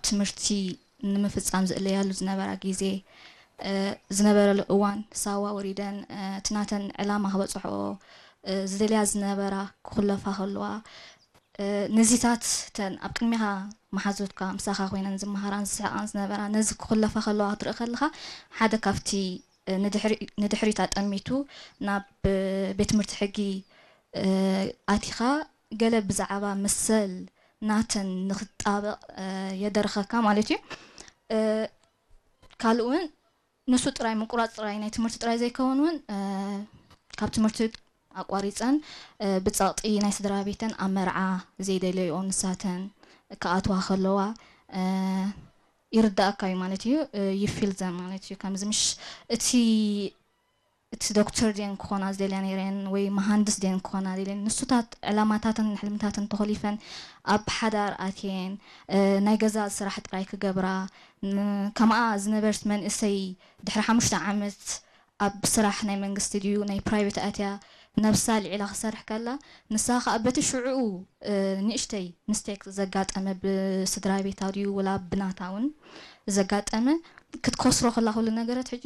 ትምህርቲ ንምፍጻም ዝእለያሉ ዝነበራ ግዜ፣ ዝነበረሉ እዋን፣ ሳዋ ወሪደን እቲ ናተን ዕላማ ክበጽሕኦ ዝደልያ ዝነበራ ክኹለፋ ከለዋ፣ ነዚታት እተን ኣብ ቅድሚኻ መሓዙትካ ምሳኻ ኮይነን ዝመሃራን ዝስሕቓን ዝነበራ ነዚ ክኹለፋ ከለዋ ክትርኢ ከለኻ፣ ሓደ ካብቲ ንድሕሪት ኣጠሚቱ ናብ ቤት ትምህርቲ ሕጊ ኣቲኻ ገለ ብዛዕባ መሰል ናተን ንኽትጣበቕ የደርኸካ ማለት እዩ። ካልእ እውን ንሱ ጥራይ ምቁራፅ ጥራይ ናይ ትምህርቲ ጥራይ ዘይከውን እውን ካብ ትምህርቲ ኣቋሪፀን ብፀቕጢ ናይ ስድራ ቤተን ኣብ መርዓ ዘይደለይኦ ንሳተን ክኣትዋ ከለዋ ይርዳእካ እዩ ማለት እዩ። ይፊል ዘም ማለት እዩ ከምዚ ምሽ እቲ እቲ ዶክተር ድየን ክኾና ዝደልያ ነይረን ወይ መሃንድስ ድየን ክኾና ደልየን ንሱታት ዕላማታትን ሕልምታትን ተኾሊፈን ኣብ ሓዳር ኣትየን ናይ ገዛ ስራሕ ጥራይ ክገብራ ከምኣ ዝነበርት መንእሰይ ድሕሪ ሓሙሽተ ዓመት ኣብ ስራሕ ናይ መንግስቲ ድዩ ናይ ፕራይቬት ኣትያ ነብሳ ልዒላ ክሰርሕ ከላ ንሳ ከዓ በቲ ሽዕኡ ንእሽተይ ምስቴክ ዘጋጠመ ብስድራ ቤታ ድዩ ወላ ብናታ እውን ዘጋጠመ ክትከስሮ ከላ ኩሉ ነገራት ሕጂ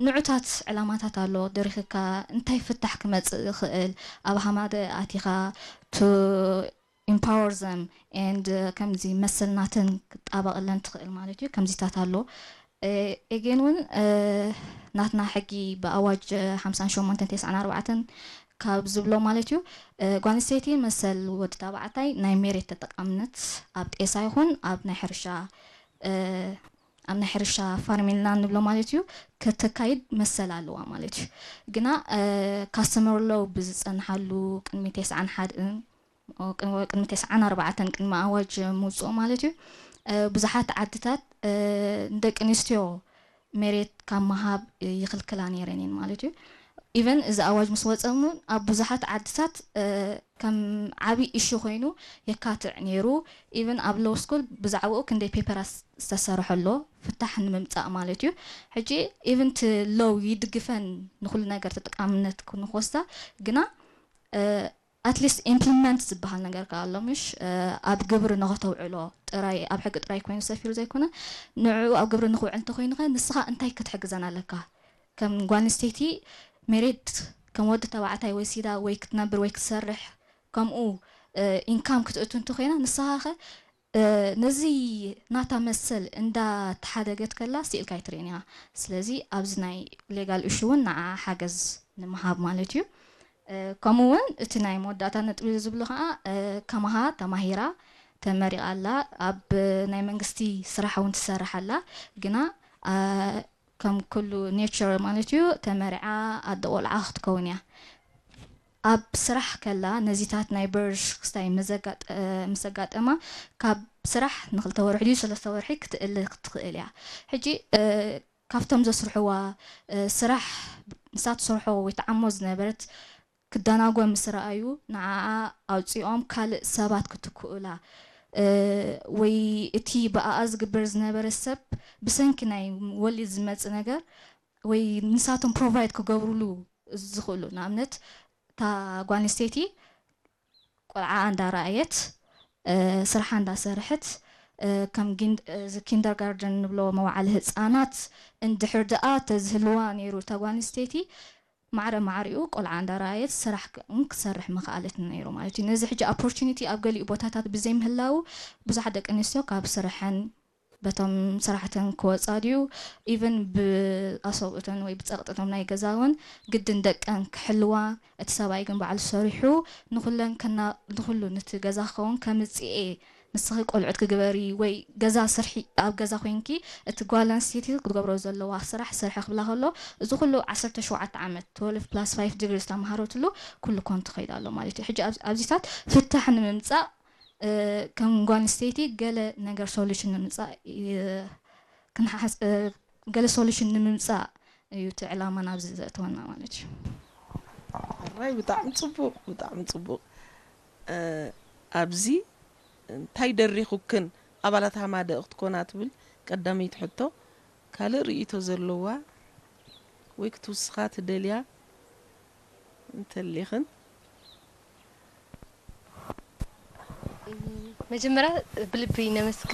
ንዑታት ዕላማታት ኣሎ ደሪኽካ እንታይ ፍታሕ ክመፅእ ይኽእል ኣብ ሃማደ ኣቲኻ to empower them and ከምዚ መሰል ናትን ክጣበቕለን ትኽእል ማለት እዩ ከምዚታት ኣሎ ኤጌን እውን ናትና ሕጊ ብኣዋጅ ሓምሳን ሸሞንተን ተስዓን ኣርባዕተን ካብ ዝብሎ ማለት እዩ ጓንስተይቲ መሰል ወዲ ተባዕታይ ናይ ሜሬት ተጠቃምነት ኣብ ጤሳ ይኹን ኣብ ናይ ሕርሻ ኣብ ናይ ሕርሻ ፋርሚንላንድ ንብሎ ማለት እዩ ከተካይድ መሰል ኣለዋ ማለት እዩ ግና ካስተመር ሎው ብዝፀንሓሉ ቅድሚ ተስዓን ሓድን ቅድሚ ተስዓን ኣርባዕተን ቅድሚ ኣዋጅ ምውፅኦ ማለት እዩ ብዙሓት ዓድታት ንደቂ ኣንስትዮ መሬት ካብ ምሃብ ይኽልክላ ነይረን እየን ማለት እዩ ኢቨን እዚ ኣዋጅ ምስ ወፀ እውን ኣብ ብዙሓት ዓድታት ከም ዓብዪ እሹ ኮይኑ የካትዕ ነይሩ ኢቨን ኣብ ሎው ስኩል ብዛዕባኡ ክንደይ ፔፐራት ዝተሰርሐ ኣሎ ፍታሕ ንምምፃእ ማለት እዩ ሕጂ ኢቨን ቲ ሎው ይድግፈን ንኩሉ ነገር ተጠቃምነት ክንወስዳ ግና ኣትሊስት ኢምፕሊመንት ዝበሃል ነገር ከዓ ኣሎ ምሽ ኣብ ግብሪ ንኸተውዕሎ ጥራይ ኣብ ሕጊ ጥራይ ኮይኑ ሰፊሩ ዘይኮነ ንዕኡ ኣብ ግብሪ ንክውዕል እንተኮይኑ ከ ንስኻ እንታይ ክትሕግዘን ኣለካ ከም ጓል ኣንስተይቲ ሜሬት ከም ወዲ ተባዕታይ ወሲዳ ወይ ክትነብር ወይ ክትሰርሕ ከምኡ ኢንካም ክትእቱ እንተኮይና ንስኻ ከ ነዚ ናታ መሰል እንዳተሓደገት ከላ ስኢልካ ኣይትርእን እያ ስለዚ ኣብዚ ናይ ሌጋል እሹ እውን ንዓ ሓገዝ ንምሃብ ማለት እዩ ከምኡ እውን እቲ ናይ መወዳእታ ነጥቢ ዝብሎ ከዓ ከማሃ ተማሂራ ተመሪቓ ኣላ ኣብ ናይ መንግስቲ ስራሕ እውን ትሰርሕ ኣላ ግና ከም ኩሉ ኔቸር ማለት እዩ ተመሪዓ ኣደ ቆልዓ ክትከውን እያ ኣብ ስራሕ ከላ ነዚታት ናይ በርሽ ክስታይ ምስ ኣጋጠማ ካብ ስራሕ ንክልተ ወርሒ ድዩ ሰለስተ ወርሒ ክትእል ክትኽእል እያ ሕጂ ካብቶም ዘስርሕዋ ስራሕ ንሳ ትሰርሖ ወይ ተዓሞ ዝነበረት ክደናጎ ምስ ረኣዩ ንዓኣ ኣውፂኦም ካልእ ሰባት ክትክኡላ ወይ እቲ ብኣኣ ዝግበር ዝነበረ ሰብ ብሰንኪ ናይ ወሊድ ዝመፅእ ነገር ወይ ንሳቶም ፕሮቫይድ ክገብሩሉ ዝኽእሉ ንኣብነት እታ ጓል ኣንስተይቲ ቆልዓ እንዳረኣየት ስርሓ እንዳሰርሐት ከም ኪንደርጋርደን ንብሎ መዋዕለ ህፃናት እንድሕር ደኣ ተዝህልዋ ነይሩ እታ ጓል ኣንስተይቲ ማዕረ ማዕሪኡ ቆልዓ እንዳረኣየት ስራሕ ክትሰርሕ ምኽኣለት ነይሩ ማለት እዩ ነዚ ሕጂ ኦፖርቹኒቲ ኣብ ገሊኡ ቦታታት ብዘይምህላው ብዙሓት ደቂ ኣንስትዮ ካብ ስርሐን በቶም ሰራሕተን ክወፃ ድዩ ኢቨን ብኣሰብኡተን ወይ ብፀቕጥቶም ናይ ገዛ እውን ግድን ደቀን ክሕልዋ እቲ ሰብኣይ ግን ባዕሉ ሰሪሑ ንኩለን ከና ንኩሉ ነቲ ገዛ ክኸውን ከምፅኤ ንስኺ ቆልዑት ክግበሪ ወይ ገዛ ስርሒ ኣብ ገዛ ኮይንኪ እቲ ጓል ኣንስተይቲ ክትገብሮ ዘለዋ ስራሕ ስርሒ ክብላ ከሎ እዚ ኩሉ ዓሰርተ ሸውዓተ ዓመት twelve plus five degree ዝተምሃረትሉ ኩሉ ኮን ትኸይድ ኣሎ ማለት እዩ ሕጂ ኣብዚታት ፍታሕ ንምምፃእ ከም ጓል ኣንስተይቲ ገለ ነገር ሶሉሽን ንምምፃእ ክንሓስ ገለ ሶሉሽን ንምምፃእ እዩ እቲ ዕላማ ናብዚ ዘእተወና ማለት እዩ። ሕራይ ብጣዕሚ ፅቡቅ ብጣዕሚ ፅቡቅ። ኣብዚ እንታይ ደሪኹክን ኣባላት ሃማደእ ክትኮና ትብል ቀዳመይቲ ሕቶ። ካልእ ርእይቶ ዘለዋ ወይ ክትውስኻ ትደልያ እንተሊኽን? መጀመርያ ብልቢ ነመስግን